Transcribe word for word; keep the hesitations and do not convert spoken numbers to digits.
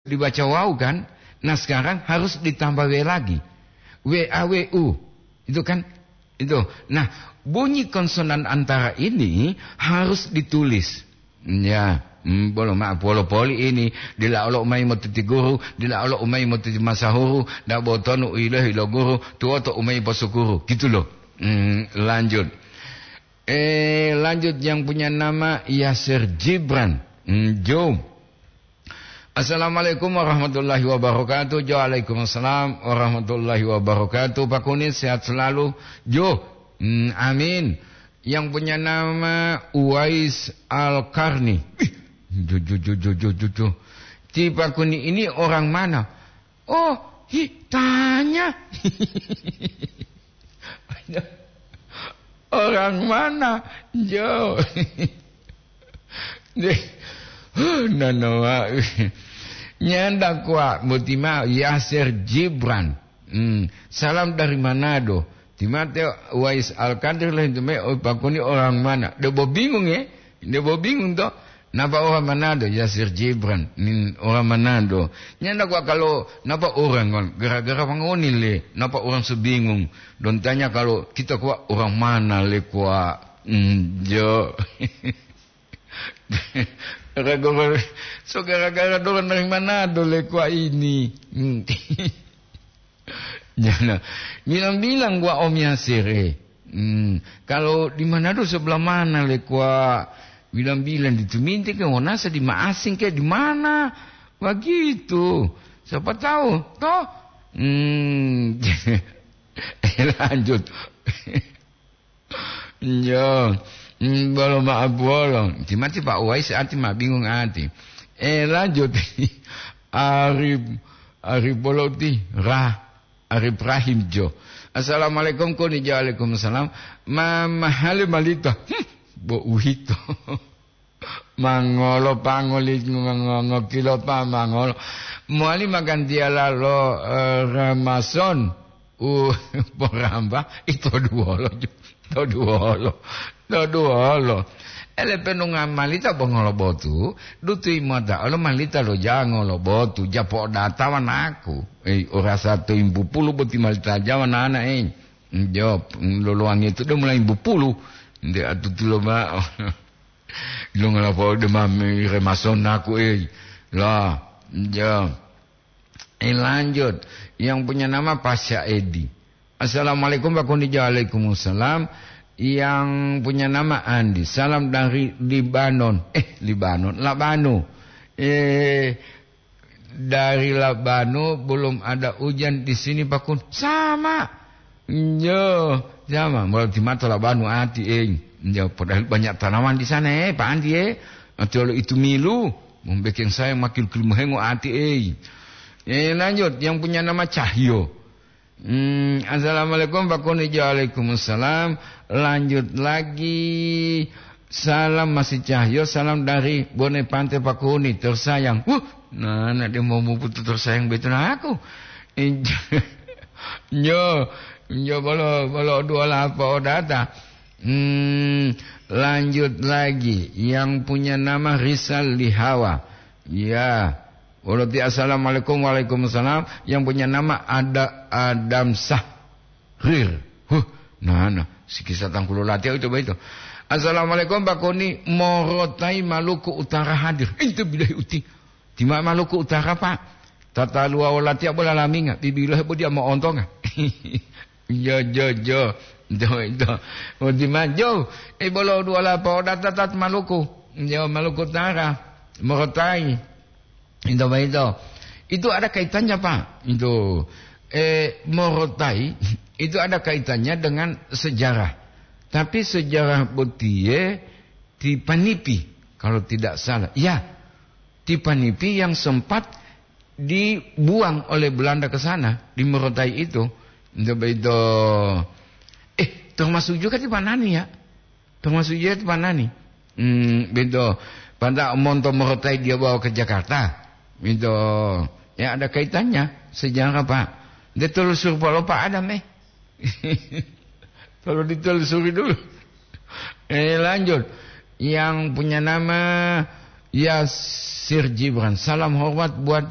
Dibaca wau kan? Nah, sekarang harus ditambah W lagi. W A W U. Itu kan? Itu. Nah, bunyi konsonan antara ini harus ditulis. Ya, hmm, bolo maaf, wolo poli ini, dila olo umai motuti guru, dila olo umai motuti masahuru, da botonu u ilohi lo guru, tuwoto umai posukuru. Gitu loh. Hmm, lanjut. Eh, lanjut yang punya nama Yasir Gibran. Hmm, Jo. Assalamualaikum warahmatullahi wabarakatuh. Jo, waalaikumsalam warahmatullahi wabarakatuh. Pak Kuni sehat selalu. Jo, hmm, amin. Yang punya nama Uwais Al-Karni. Ih, jo, jo, jo, jo, jo, jo, jo. Ti Pak Kuni ini orang mana? Oh, hi, tanya. Orang mana? Jo. Deh. Huh, nonoa. Nyanda kuat, mutima Yasir Gibran. Hmm, salam dari Manado. Timate Wais Alkadir lah itu me, oh, Pak Kuni orang mana? Debo bingung ya? Debo bingung toh? Napa orang Manado? Yasir Gibran. Nin orang Manado. Nyanda kuat kalau napa orang kan? Gara-gara pangoni le. Napa orang sebingung? Don tanya kalau kita kuat orang mana le kuat? Hmm, jo. Gara-gara, so gara-gara dorong dari Manado le kuat ini. Hmm. Jana, bilang-bilang gua Om Yasir, eh. Hmm, kalau di Manado sebelah mana le kuat? Bilang-bilang di Tuminte ke, Wonasa, di Maasing ke, di mana? Begitu. Siapa tahu, toh? Hmm. Lanjut. Yo, mm, bolo ma'o buwolo. Timati Pak Uwais ati ma bingung ati. Eh, lanjut. Arif, Arif bolo ti, Rah, Arif Rahim jo. Assalamualaikum, koni jo. Waalaikumsalam. Ma, mahali malita. Hmm, bo uhito. Mangolo pangoli ngo-, ngo-, ngokilo pa mangolo. Mowali magantiyala lo, eh, Ramason u poramba, ito duwolo ju-, to duwolo, to duwolo. Ele penunga malita bo ngolobotu, dutuyi mota olo malita lo jango lo botu, japo data wanaku. Eh, orasa to imbu pulu boti malita jawa nana, eh. Jawab, lolowangi itu dia mulai imbu pulu. Nde atutulo ma'o. Ilongola po'o demami remason aku, eh. Lah, ya. Eh, lanjut. Yang punya nama Pasha Edi. "Assalamualaikum, Pak Kuni." Waalaikumsalam. Yang punya nama Andi. "Salam dari Libanon." Eh, Libanon, Labano. Eh, dari Labano belum ada hujan di sini, Pak Kun. Sama. Yo, sama. Berarti mata Labano ati, eh. Yo, padahal banyak tanaman di sana, eh, Pak Andi, eh. Ati olo itu milu, membuat saya makin kelumuhengo ati, eh. Eh, lanjut. Yang punya nama Cahyo. Hmm, "Assalamualaikum, Pak Kuni." Waalaikumsalam. Lanjut lagi. "Salam masih Cahyo, salam dari Bone Pante, Pak Kuni, tersayang." Wuh, nah, nah, dia mau muputu tersayang betul aku. Nyo, nyo bolo, bolo dua lapa odata. Hmm, lanjut lagi. Yang punya nama Rizal Lihawa. Ya. Wolo ti, "Assalamualaikum." "Waalaikumsalam." Yang punya nama ada Adam Sahrir. Huh, nah, nah, sikisa tangkulo latiya itu baito. "Assalamualaikum, Pak Kuni, Morotai Maluku Utara hadir." Itu bilahi uti. Tima Maluku Utara, Pak. Tata luwa latiya bola laminga, bibilohe bo dia mo'ontonga. Jo, jo, jo. Jo, jo. Uti ma, jo. Eh, bolo dua lapa odata tat Maluku. Jo, Maluku Utara. Morotai. Itu apa itu? Itu ada kaitannya, Pak. Itu, eh, Morotai itu ada kaitannya dengan sejarah. Tapi sejarah botiye ti Panipi, kalau tidak salah. Ya, ti Panipi yang sempat dibuang oleh Belanda ke sana, di Morotai itu. Itu apa itu? Eh, termasuk juga di Panani, ya. Termasuk juga di Panani. Hmm, begitu. Pada monto Morotai dia bawa ke Jakarta. Begitu. Ya, ada kaitannya sejarah, Pak. Dia telusur polo Pak Adam, eh. Kalau ditelusuri dulu. Eh, lanjut. Yang punya nama Ya, Sir Gibran, salam hormat buat